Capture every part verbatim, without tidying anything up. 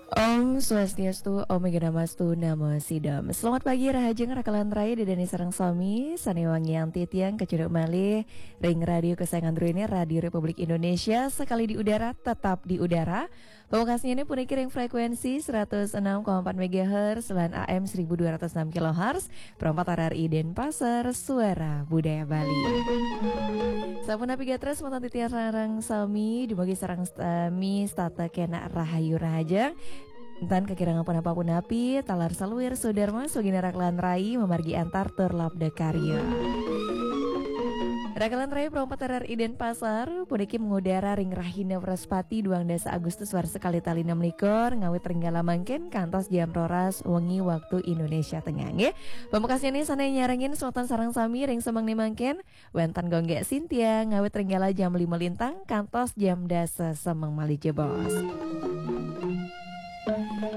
Om Swastiastu, Om Awighnamastu, Namo Siddham. Selamat pagi, rahajeng rakalan rai, Ida Dani sareng sami, sané wangiang titiang kacunduk malih ring radio kesayangan Ru ini, Radio Republik Indonesia, sekali di udara, tetap di udara. Pamekasnyané puniki ring frekuensi seratus enam koma empat megahertz lan A M seribu dua ratus enam kilohertz, Pro empat R R I Denpasar, Suara Budaya Bali. Sapunapi gatra semeton titiang sareng sami, dumugi sareng sami setata kenak rahayu rahajeng. Tan kakirangan punapa-punapi, taler saluir sudarma, sugina rakalan rai, mamargi antar tur labda karya. Rakalan rai Pro empat R R I Denpasar, puniki mengudara ring rahina Wrespati, duang dasa Agustus warsa kalih tali enam likur, ngawit ring galah mangkin kantos jam roras wengi waktu Indonesia Tengah, nggih. Pamekasnyané sané nyarengin semeton sareng sami ring semeng né mangkin, wénten Gung Gék Sintia, ngawit ring galah jam lima lintang kantos jam dasa semeng malih jebos.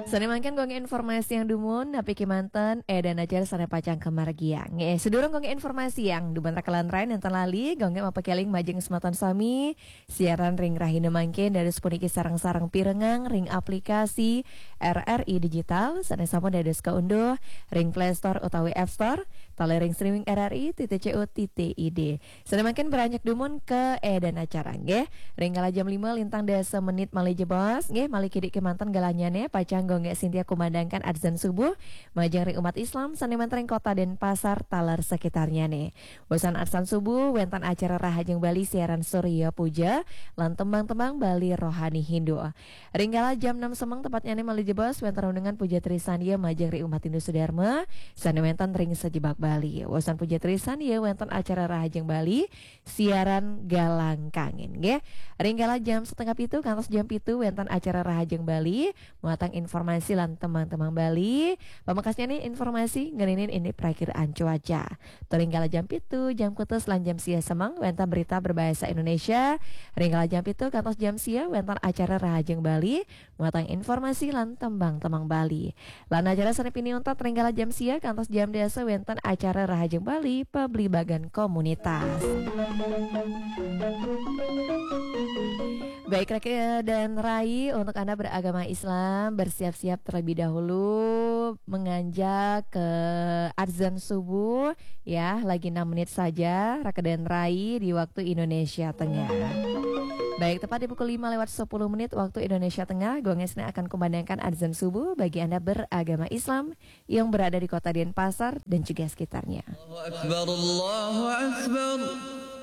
Sané mangkin Gung Gék informasiang dumun, napi kémanten édan acara sané pacang kamargiang. Nggih, sadurung Gung Gék informasiang dumun rakalan rai, nénten lali Gung Gék mapakéling majeng semeton sami, siaran ring rahina mangkin dados puniki sareng-sareng pirengang ring aplikasi R R I Digital sané sampun dados kaunduh ring Play Store utawi App Store, taler ring streaming R R I titik co titik I D. Sané mangkin beranjak dumun ka édan acara, nggih. Ring galah jam lima lintang dasa menit malih jebos, nggih, malih kidik kémanten galahnyané, pacang Gung Gék Sintia kumandangkan adzan subuh majeng ring umat Islam sané wénten ring Kota Denpasar taler sekitarnyané. Wusan adzan subuh, wénten acara Rahajeng Bali siaran Surya Puja lan tembang-tembang Bali rohani Hindu. Ring galah jam enam semeng tepatnyané malih jebos, wénten renungan puja trisandya majeng ring umat Hindu Sudarma sané wénten ring sajebag Bali. Wusan puja trisandya, wénten acara Rahajeng Bali siaran Galang Kangen, nggih. Ring galah jam setengah pitu kantos jam pitu, wénten acara Rahajeng Bali muatan informasi lan tembang-tembang Bali. Pamekasnyané informasi ngeninin indik prakiraan cuaca. Tur ring galah jam pitu, jam kutus lan jam sia semeng, wénten berita berbahasa Indonesia. Ring galah jam pitu kantos jam sia, wénten acara Rahajeng Bali muatan informasi lan tembang-tembang Bali. Lan acara sané pinih untat ring galah jam sia kantos jam dasa, wénten acara Rahajeng Bali, pabligbagan komunitas. Baik, raka dan rai, untuk Anda beragama Islam, bersiap-siap terlebih dahulu menganjak ke adzan subuh, ya, lagi enam menit saja, raka dan rai, di waktu Indonesia Tengah. Baik, tepat di pukul lima lewat sepuluh menit waktu Indonesia Tengah, Gung Gék Sintia akan kumandangkan adzan subuh bagi Anda beragama Islam yang berada di Kota Denpasar dan juga sekitarnya. Allahu Akbar, Allahu Akbar.